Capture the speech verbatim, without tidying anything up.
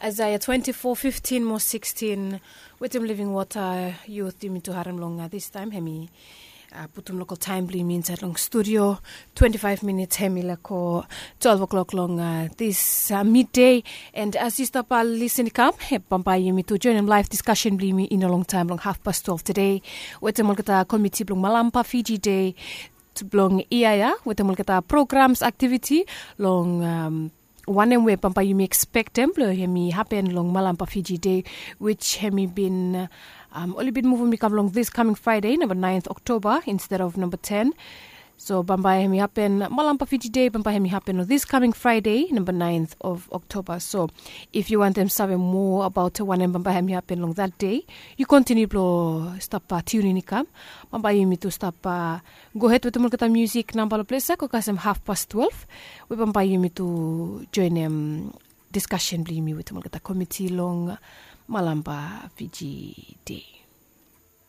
Aesaia twenti fo fiftin mo sikstin, wetem living wata. Yut, yumi tu harim long distaem hemi putum lokal taem blong yumi insaed long studio. Twenti faef minits hemi laek go twelve o'clock long dis midei. And as yu stap lisin i kam, bambae yumi tu joenem laef diskasen blong yumi i no longtaem long hafpas twelve tedei, wetem olgeta komiti blong malampa fiji dei blong yia ya, wetem olgeta programs, aktiviti long wanem we bambae yumi ekspektem blong hemi hapen long malampa fiji dei, wich hemi bin oli bin muvum i kam long dis kaming fraede namba naenth oktoba insted of namba ten. So bambae hemi hapen malampa fiji dei bambae hemi hapen long dis kaming fraede namba naenth of oktoba. So if yu wantem save moa abaot wanem bambae hemi hapen long dat dei, yu kontiniu blong stap tiunin i kam. Bambae yumi tu stap gohed wetem olgeta musik namba long ples ya go kasem hafpas twelve, we bambae yumi tu joenem diskasen blong yumi wetem olgeta komiti long malampa fiji dei.